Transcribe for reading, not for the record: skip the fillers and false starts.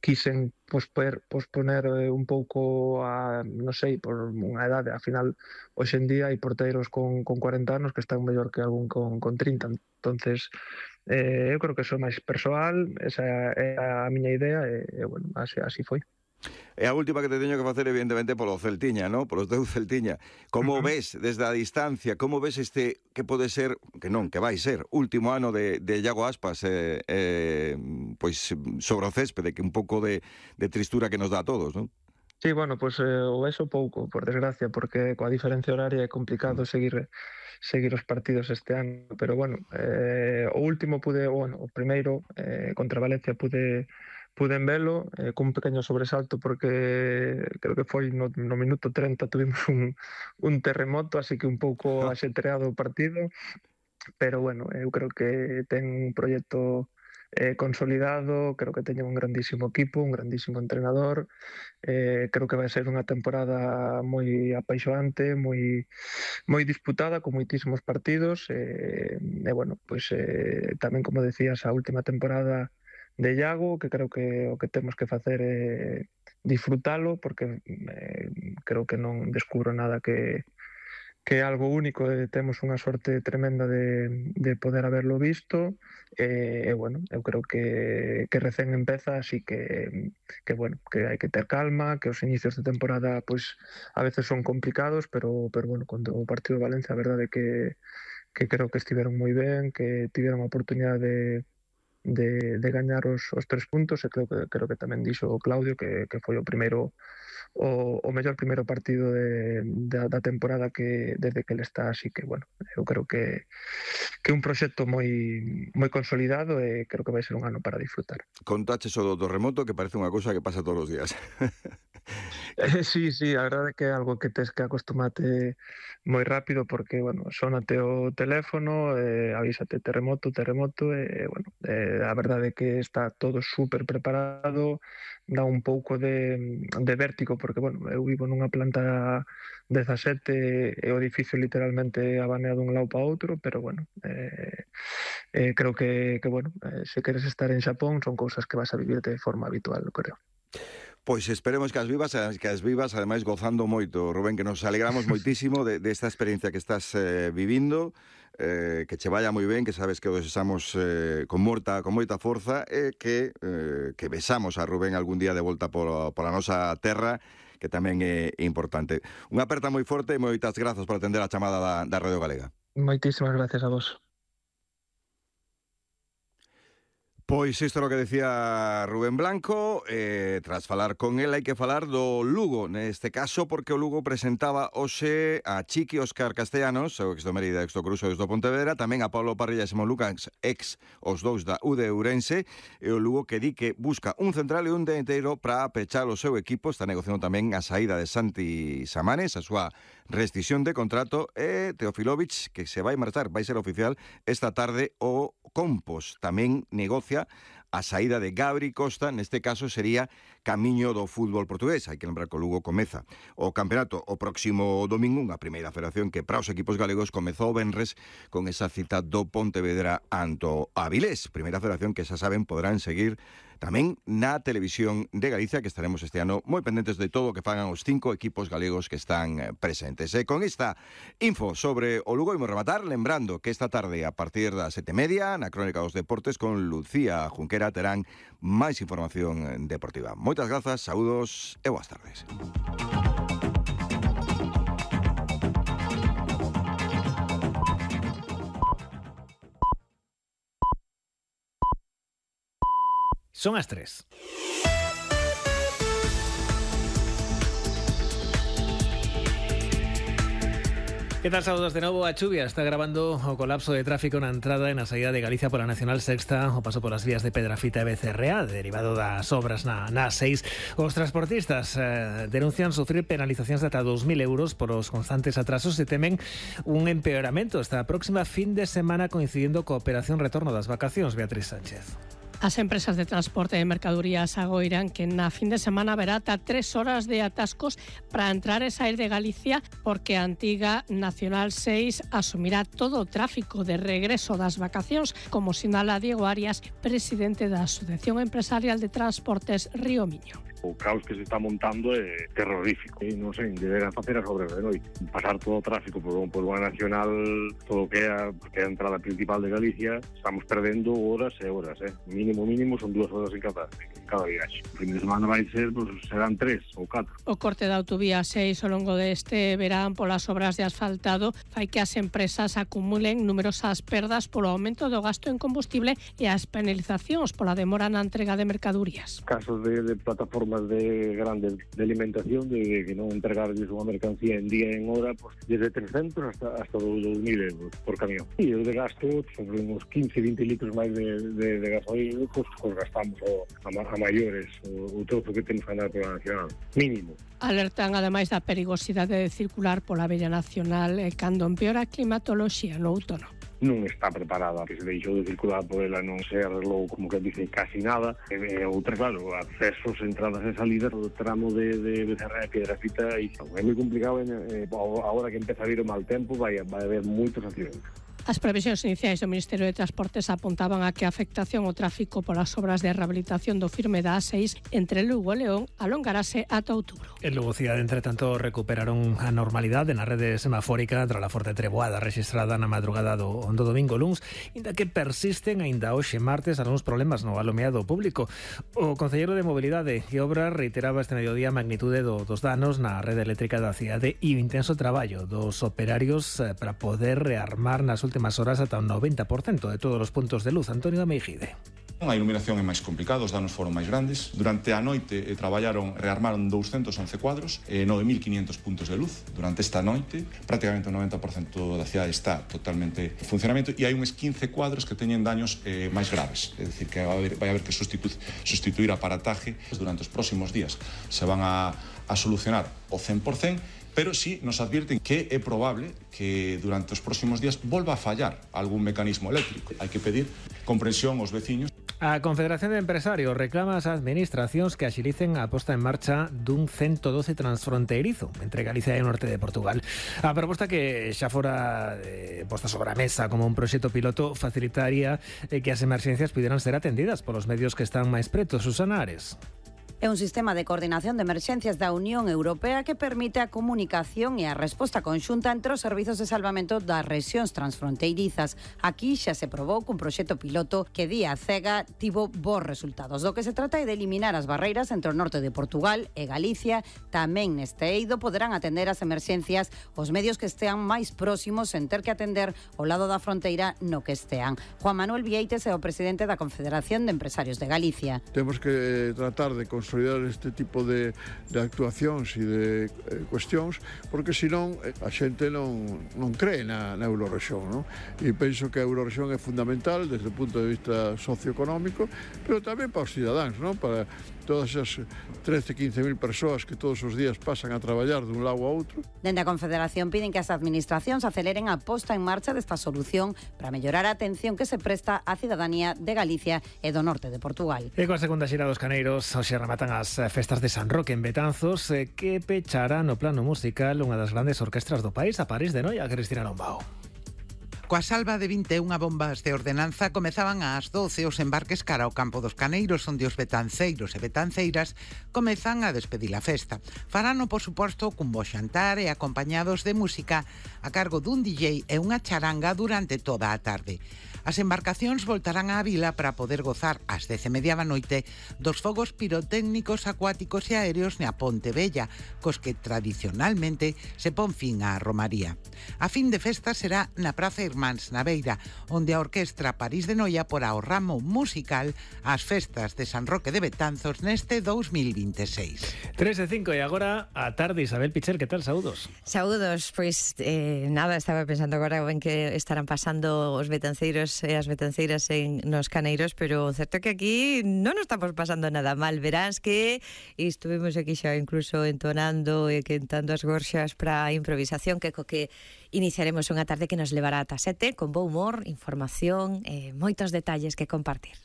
quisen posponer un pouco non sei, por unha edade. Ao final, hoxe en día hai porteiros con 40 anos que están mellor que algún con 30. Entonces, eu creo que son máis persoal, esa é a miña idea e bueno, así foi. E a última que te teño que facer, evidentemente, polo Celtiña, ¿no? Polos teu Celtiña. Como ves desde a distancia, como ves este que pode ser, que vai ser, último ano de Iago Aspas, pois sobre o céspede, que un pouco de tristura que nos dá a todos, non? Sí, bueno, pues o eso pouco, por desgracia, porque coa diferencia horaria é complicado seguir os partidos este ano, pero bueno, o último o primeiro contra Valencia puden velo cun pequeño sobresalto porque creo que foi no minuto 30 tuvimos un terremoto, así que un pouco axetreado o partido, pero bueno, eu creo que ten un proxecto consolidado, creo que teñen un grandísimo equipo, un grandísimo entrenador, creo que vai ser unha temporada moi apaixoante, moi disputada, con moitísimos partidos, e bueno, pois tamén, como decías, a última temporada de Iago, que creo que o que temos que facer é disfrutalo, porque creo que non descubro nada que é algo único, temos unha sorte tremenda de poder haberlo visto, e bueno, eu creo que recén empeza, así que bueno, que hai que ter calma, que os inicios de temporada pois a veces son complicados, pero bueno, cando o partido de Valencia, a verdade é que creo que estiveron moi ben, que tiveron a oportunidade de gañar os 3 puntos, e creo que tamén dixo o Claudio que foi o primeiro o mellor primeiro partido da temporada que desde que ele está, así que bueno, eu creo que é un proxecto moi consolidado e creo que vai ser un ano para disfrutar. Contaches o do terremoto, que parece unha cousa que pasa todos os días. Sí, a verdade é que é algo que tes que acostumate moi rápido, porque, bueno, sónate o teléfono, avísate terremoto, e, bueno, a verdade é que está todo super preparado, dá un pouco de vértigo, porque, bueno, eu vivo nunha planta 17 e o edificio literalmente abanea dun lado para outro, pero, bueno, creo que bueno, se queres estar en Xapón son cousas que vas a vivir de forma habitual, creo. Pois esperemos que as vivas, ademais gozando moito, Rubén, que nos alegramos moitísimo desta experiencia que estás vivindo, que che vaya moi ben, que sabes que o desexamos con moita forza, e que besamos a Rubén algún día de volta pola nosa terra, que tamén é importante. Unha aperta moi forte e moitas grazas por atender a chamada da Radio Galega. Moitísimas gracias a vos. Pois isto é o que decía Rubén Blanco. Tras falar con él hai que falar do Lugo, neste caso porque o Lugo presentaba hoxe a Chiqui Óscar Castellanos, o ex do Mérida, ex do Coruxo, ex do Pontevedra, tamén a Pablo Parrilla e Simón Lucas, ex os dous da UD Ourense, e o Lugo que di que busca un central e un delanteiro para pechar o seu equipo. Está negociando tamén a saída de Santi Samanes, a súa rescisión de contrato, e Teofilovic, que se vai marchar, vai ser oficial esta tarde. O Compos tamén negocia a saída de Gabri Costa, neste caso sería camiño do fútbol portugués. Hai que lembrar que o Lugo comeza o campeonato o próximo domingo, unha primeira federación que para os equipos galegos comezou o venres con esa cita do Pontevedra ante Avilés, primeira federación que xa saben poderán seguir tamén na televisión de Galicia, que estaremos este ano moi pendentes de todo o que fagan os 5 equipos galegos que están presentes. E con esta info sobre o Lugo imos rematar, lembrando que esta tarde a partir das 7:30 na Crónica dos Deportes con Lucía Junquera terán máis información deportiva. Moitas grazas, saúdos e boas tardes. Son as 3. ¿Qué tal? Saludos de novo. A chuvia está agravando o colapso de tráfico na entrada e na saída de Galicia pola Nacional Sexta, o paso polas vías de Pedrafita e Becerrea, derivado das obras na A6. Os transportistas denuncian sufrir penalizacións de ata 2.000 euros por os constantes atrasos e temen un empeoramento esta próxima fin de semana coincidindo coa operación retorno das vacacións. Beatriz Sánchez. As empresas de transporte de mercadorías agoiran que na fin de semana haberá ata 3 horas de atascos para entrar e sair de Galicia, porque a antiga Nacional 6 asumirá todo o tráfico de regreso das vacacións, como sinala Diego Arias, presidente da Asociación Empresarial de Transportes Río Miño. O caos que se está montando é terrorífico. Non sei, deberán facer as obras de noite. Pasar todo o tráfico por unha nacional, todo o que é a entrada principal de Galicia, estamos perdendo horas e horas. Mínimo son 2 horas en cada viaxe. O fin de semana vai ser, serán 3 ou 4. O corte da autovía 6 ao longo deste verán polas obras de asfaltado fai que as empresas acumulen numerosas perdas polo aumento do gasto en combustible e as penalizacións pola demora na entrega de mercadorías. Casos de plataformas de grandes de alimentación, de que non entregarles unha mercancía en día e en hora, desde 300 hasta 2.000 euros por camión. E o de gasto, sobre uns 15-20 litros máis de gasoil, gastamos a maiores o trozo que temos que andar pola nacional, mínimo. Alertan ademais da perigosidade de circular pola vella nacional cando empeora a climatoloxía no outono. Non está preparada, que se deixou de circular por ela, non se arreglou, como que dice, casi nada. Outra, claro, accesos, entradas e salidas, o tramo de Becerra e Piedrafita, é moi complicado. Agora que empeza a vir o mal tempo, vai haber moitos accidentes. As previsións iniciais do Ministerio de Transportes apuntaban a que a afectación ao tráfico polas obras de rehabilitación do firme da A6 entre Lugo e León alongarase ata outubro. En Lugo cidade, entre tanto, recuperaron a normalidade na rede semafórica tras a forte treboada rexistrada na madrugada do domingo luns, inda que persisten aínda hoxe martes algúns problemas no alumeado público. O concelleiro de Mobilidade e Obras reiteraba este mediodía a magnitude dos danos na rede eléctrica da cidade e o intenso traballo dos operarios para poder rearmar nas últimas horas ata un 90% de todos os puntos de luz. Antonio Meijide. A iluminación é máis complicada, os danos foron máis grandes. Durante a noite rearmaron 211 cuadros, 9.500 puntos de luz durante esta noite. Prácticamente o 90% da cidade está totalmente en funcionamento e hai uns 15 cuadros que teñen daños máis graves. É dicir, que vai haber que sustituir aparataje durante os próximos días. Se van a solucionar o 100%, pero sí nos advirten que é probable que durante os próximos días volva a fallar algún mecanismo eléctrico. Hai que pedir comprensión aos veciños. A Confederación de Empresarios reclama ás administracións que axilicen a posta en marcha dun 112 transfronteirizo entre Galicia e o norte de Portugal. A proposta que xa fora posta sobre a mesa como un proxecto piloto facilitaría que as emerxencias pudieran ser atendidas polos medios que están máis pretos. Susana Ares. É un sistema de coordinación de emerxencias da Unión Europea que permite a comunicación e a resposta conxunta entre os servizos de salvamento das rexións transfronteirizas. Aquí xa se probou cun proxecto piloto que día cega tivo bons resultados. Do que se trata é de eliminar as barreiras entre o norte de Portugal e Galicia. Tamén neste eido poderán atender as emerxencias os medios que estean máis próximos en ter que atender ao lado da fronteira no que estean. Juan Manuel Vieites é o presidente da Confederación de Empresarios de Galicia. Temos que tratar de consolidar este tipo de actuacións e de cuestións, porque senón a xente non cree na Eurorrexión, non? E penso que a Eurorrexión é fundamental desde o punto de vista socioeconómico, pero tamén para os cidadáns, non? Para todas as 13-15.000 persoas que todos os días pasan a traballar dun lado a outro. Dende a Confederación piden que as administracións aceleren a posta en marcha desta solución para mellorar a atención que se presta á cidadanía de Galicia e do norte de Portugal. E coa segunda xira dos Caneiros, hoxe rematan as festas de San Roque en Betanzos, que pechará no plano musical unha das grandes orquestras do país, a París de Noia, Cristina Lombao. Coa salva de 21 bombas de ordenanza comezaban ás 12 os embarques cara ao campo dos Caneiros, onde os betanceiros e betanceiras comezan a despedir a festa. Farano, por suposto, cun bo xantar e acompañados de música a cargo dun DJ e unha charanga durante toda a tarde. As embarcacións voltarán á vila para poder gozar ás 10:30 da noite dos fogos pirotécnicos acuáticos e aéreos na Ponte Vella, cos que tradicionalmente se pon fin á romaría. A fin de festa será na Praza Irmáns na Beira, onde a Orquestra París de Noia porá o ramo musical ás festas de San Roque de Betanzos neste 2026. 3:05 e agora a tarde. Isabel Pichel, que tal? Saúdos. Saúdos, pois nada, estaba pensando agora en que estarán pasando os betanceiros e as betanceiras nos Caneiros, pero certo que aquí non nos estamos pasando nada mal. Verás que estuvimos aquí xa incluso entonando e cantando as gorxas para a improvisación, que co que iniciaremos unha tarde que nos levará ata 7 con bo humor, información e moitos detalles que compartir.